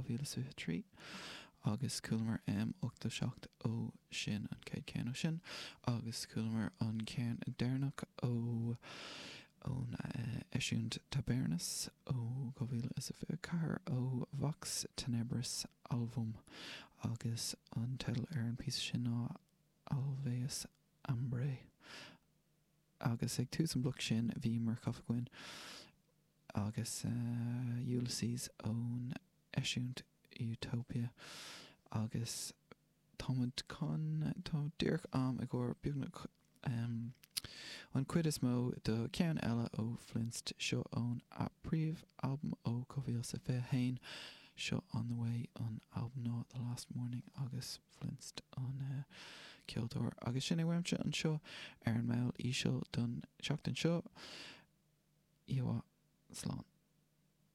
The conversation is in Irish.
2023 agus chualamar M87 ó sin, an chéad cheann ó sin, agus chualamar an ceann deireanach ó ón eisiúint Tabernas ó 2024 ó Vox Tenebris Alvum agus an teideal ar an bpíosa sin ná Alveus Ambrae. Agus ag tús an bhloic sin bhí Murcof againn agus Ulysses ón eisiúint Utopia agus tá muid chun, tá díreach am i gcomhair beagnach an chuid is mó de cheann eile ó Flinst, seo ón a príomh-albam ó 2021, seo On The Way an albam ná The Last Morning agus Flinst an ceoltóir. Agus sin é uaimse anseo ar an mball íseal don tseachtain seo. Oíche mhaith. Slán.